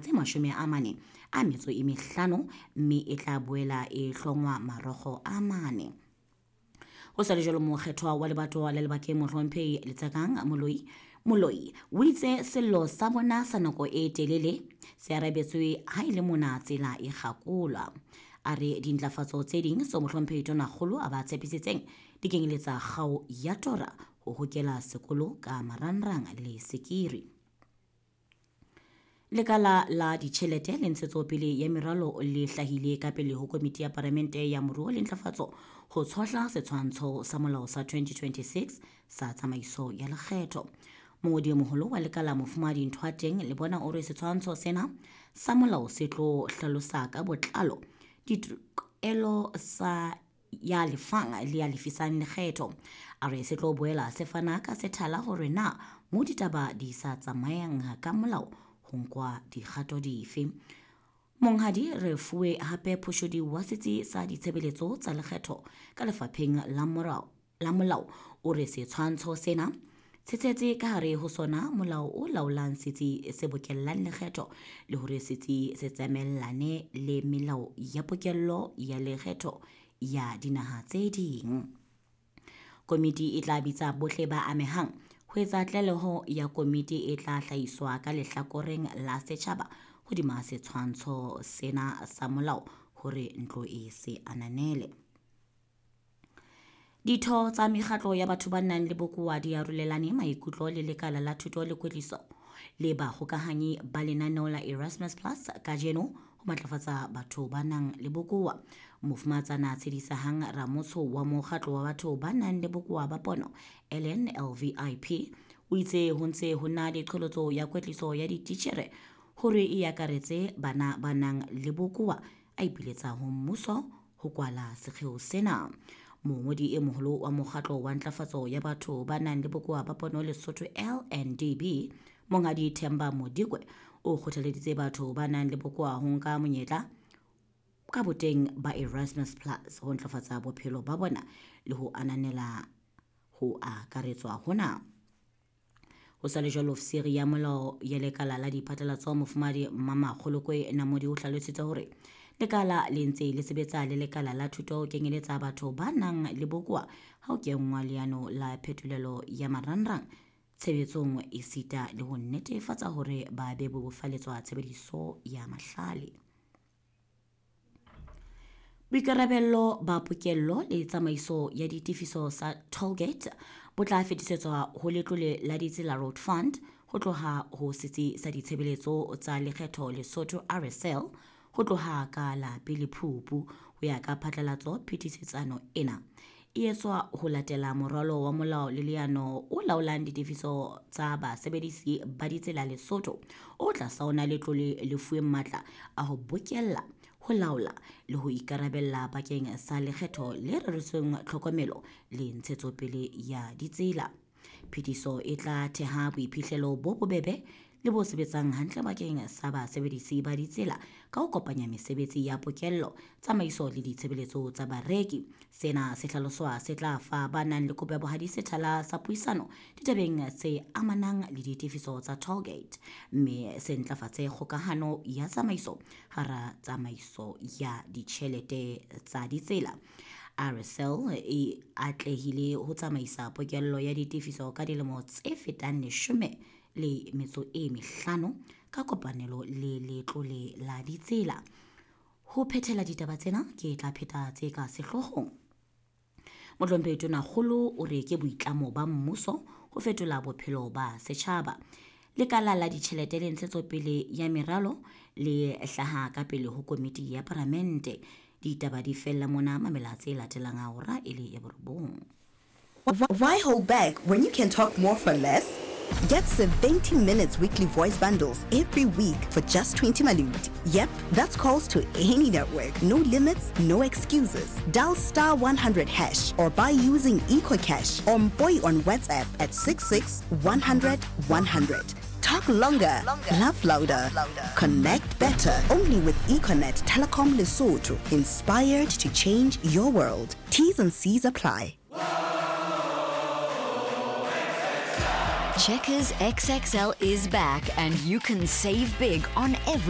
tse 45 mme e tla boela e hlongwa marokgo a mane. Ho sa le jwalo, mokgethwa wa lebatowa la Lebakeng Mohlomphehi Letsakang Moloi Moloi o itse sello sa bona sa nako e telele se arabetswe ha e le mona tsela e kgakolwa. A re dintlafatso tse ding tseo Mohlomphehi Tonakgolo a ba tshepisitseng di kenyeletsa kgao ya tora, ho hokela sekolo ka marangrang le sekiri. Lekala la ditjhelete le ntshetsopele ya meralo le hlahile ka pele ho Komiti ya Palamente ya Moruo le Ntlafatso ho tshohla setshwantsho sa molao sa 2026 sa tsamaiso ya lekgetho. Mongodi e moholo wa lekala Mofumahadi Nthoateng le bona o re setshwantsho sena sa molao se tlo hlalosa ka botlalo ditokelo sa ya lefang le ya lefisang lekgetho. A re se tlo boela se fana ka sethala hore na mo ditaba di sa tsamayang ka molao ho nkwa dikgato dife. Monghadi Refuwe hape Phoshodi wa setsi sa ditshebeletso tsa lekgetho ka lefapheng la molao o re setshwantsho sena se tshetse ka hare ho sona molao o laolang setsi se bokellang lekgetho le hore setsi se tsamaellane le melao ya pokello ya lekgetho ya dinaha tse ding. Komiti e tla bitsa bohle ba amehang ho etsa tlaleho ya komiti e tla hlahiswa ka lehlakoreng la setjhaba hodima setshwantsho sena sa molao hore ntlo e se ananele. Ditho tsa mekgatlo ya batho ba nang le bokowa di arolelane maikutlo le lekala la thuto le kwetliso le bahokahanyi ba lenaneo la Erasmus Plus kajeno ho matlafatsa batho ba nang le bokowa. Mofumahatsana Tshedisahang Ramotsho wa mokgatlo wa batho ba nang le bokowa ba pono LNLVIP o itse ho ntse ho na le qholotso ya kwetliso ya dititjhere hore e akaretse bana ba nang le bokowa, a ipiletsa ho mmuso ho kwala sekgeo sena. Mongodi e moholo wa mokgatlo wa ntlafatso ya batho ba nang le bokowa ba pono Lesotho LNDB, Monghadi Themba Modikwe, o kgothaleditse batho ba nang le bokowa ho nka monyetla ka boteng ba Erasmus Plus ho ntlafatsa bophelo ba bona le ho ananela ho akaretswa hona. Ho sa le jwalo, ofisiri ya molao ya lekala la diphatlalatso Mofumahadi Mmamakgolokwe Namodi o hlalositse hore lekala le ntse le sebetsa le lekala la thuto ho kenyeletsa batho ba nang le bokowa ha ho kenngwa leano la phetolelo ya marangrang tshebetsong esita le ho netefatsa hore ba bebofaletswa tshebediso ya mahlale. Boikarabello ba pokello le tsamaiso ya ditefiso sa tollgate bo tla fetisetswa ho letlole la ditsela Road Fund ho tloha ho setsi sa ditshebeletso tsa lekgetho Lesotho RSL ho tloha ka la pele Phupu. Ho ya ka phatlalatso, phetisetsano ena e etswa ho latela moralo wa molao le leano o laolang ditefiso tsa basebedisi ba ditsela Lesotho o tlasa ona letlole le fuweng matla a ho bokella, ho laola le ho ikarabella bakeng sa lekgetho le reretsweng tlhokomelo le ntshetsopele ya ditsela. Phetiso e tla theha boiphihlelo bo bobebe le bo sebetsang hantle bakeng sa basebedisi ba ditsela ka ho kopanya mesebetsi ya pokello, tsamaiso le ditshebeletso tsa bareki. Sena se hlaloswa se tla fa ba nang le kopo ya bohadi sethala sa puisano ditabeng tse amanang le ditefiso tsa tollgate, mme se ntlafatse kgokahano ya tsamaiso hara tsamaiso ya ditjhelete tsa ditsela. RSL e atlehile ho tsamaisa pokello ya ditefiso ka dilemo tse fetang 15 ka kopanelo le letlole la ditsela. Ho phethela ditaba tsena ke tla pheta tse ka sehloohong. Mohlomphehi Tonakgolo o re ke boitlamo ba mmuso ho fetola bophelo ba setjhaba. Lekala la ditjhelete le ntshetsopele ya meralo le hlaha ka pele ho komiti ya palamente. Ditaba di fella mona, mamela tse latelang a hora e le ya borobong. Why hold back when you can talk more for less? Get 70 minutes weekly voice bundles every week for just 20 malut. Yep, that's calls to any network. No limits, no excuses. Dial star 100 hash or buy using EcoCash or Boy on WhatsApp at 66 100 100. Talk longer, laugh louder, connect better. Only with Econet Telecom Lesotho. Inspired to change your world. T's and C's apply. Checkers XXL is back and you can save big on every